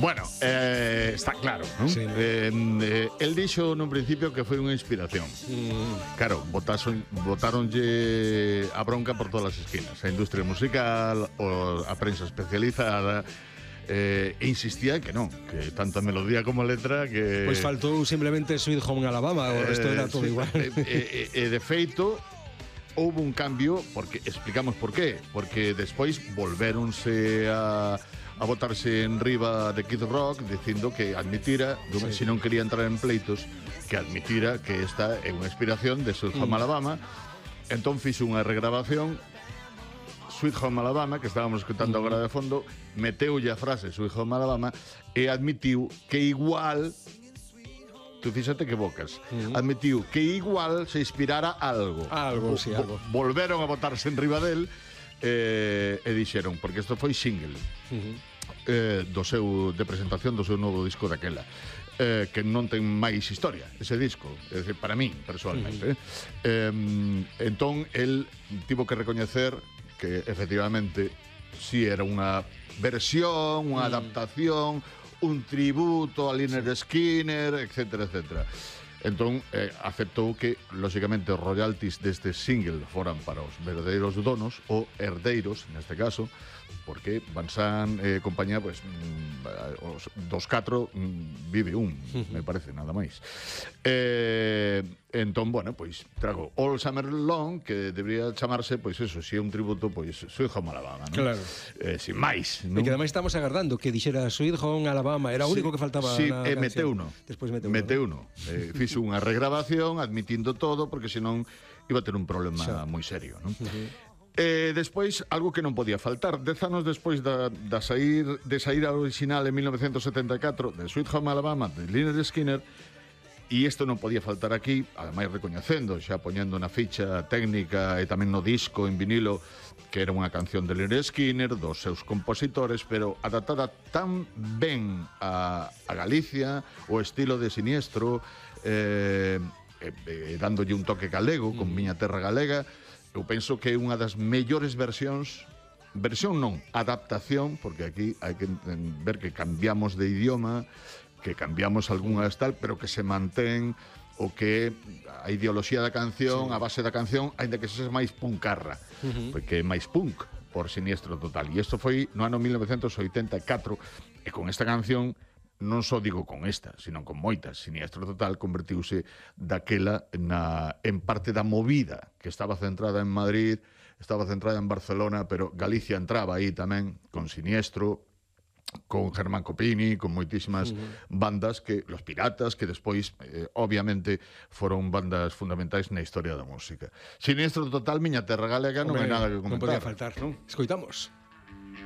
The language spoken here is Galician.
Bueno, está claro, non? Sí. El dixo nun principio que foi unha inspiración. Claro, botáronlle a bronca por todas as esquinas. A industria musical, a prensa especializada, insistía que non, que tanto a melodía como a letra que... Pois faltou simplemente Sweet Home Alabama, o resto era todo igual. De feito, houve un cambio, porque explicamos por qué, porque despois volvéronse a botarse en riba de Kid Rock dicindo que admitira, se non quería entrar en pleitos, que admitira que esta é unha inspiración de Sweet Home Alabama. Entón fixo unha regrabación Sweet Home Alabama, que estábamos escutando agora de fondo, meteulle a frase Sweet Home Alabama e admitiu que igual, tú fíxate que bocas, admitiu que igual se inspirara algo. Algo, sí, algo. Volveron a botarse en riba del e dixeron, porque isto foi single de presentación do seu novo disco daquela, que non ten máis historia ese disco, é dicir, para min personalmente. Entón el tivo que recoñecer que efectivamente si era unha versión, unha adaptación, un tributo a Lynyrd Skynyrd, etcétera, etcétera. Entón, aceptou que, lóxicamente, os royalties deste single foran para os verdadeiros donos, ou herdeiros, neste caso, porque Van Sant compañía, pues, dos catro vive un, me parece, nada máis. Entón, bueno, pois, trago All Summer Long, que debería chamarse, pois, eso, si é un tributo, pois, Sweet Home Alabama, non? Claro. Sin máis, non? E que ademais estamos agardando que dixera Sweet Home Alabama, era o único que faltaba na canción. Meteuno. Despois meteuno. Fixo unha regrabación admitindo todo, porque senón iba a ter un problema moi serio, non? Despois, algo que non podía faltar, 10 anos despois de sair a original en 1974 de Sweet Home Alabama de Lynyrd Skynyrd, e isto non podía faltar aquí, ademais recoñecendo, xa poñendo na ficha técnica e tamén no disco en vinilo, que era unha canción de Lynyrd Skynyrd, dos seus compositores, pero adaptada tan ben a Galicia, o estilo de Siniestro, dándolle un toque galego, con Miña Terra Galega. Eu penso que é unha das mellores versión non, adaptación, porque aquí hai que ver que cambiamos de idioma, que cambiamos algunhas tal, pero que se mantén o que a ideoloxía da canción, a base da canción, aínda que sexa máis punkarra, porque é máis punk por Siniestro Total. E isto foi no ano 1984, e con esta canción, non só digo con esta, sino con moitas, Siniestro Total convertiuse daquela en parte da movida que estaba centrada en Madrid, estaba centrada en Barcelona, pero Galicia entraba aí tamén con Siniestro, con Germán Copini, con moitísimas bandas, que Los Piratas, que despois, obviamente, foron bandas fundamentais na historia da música. Siniestro Total, Miña Terra Galega, non hai nada que comentar. Non podía faltar, non? Escoitamos.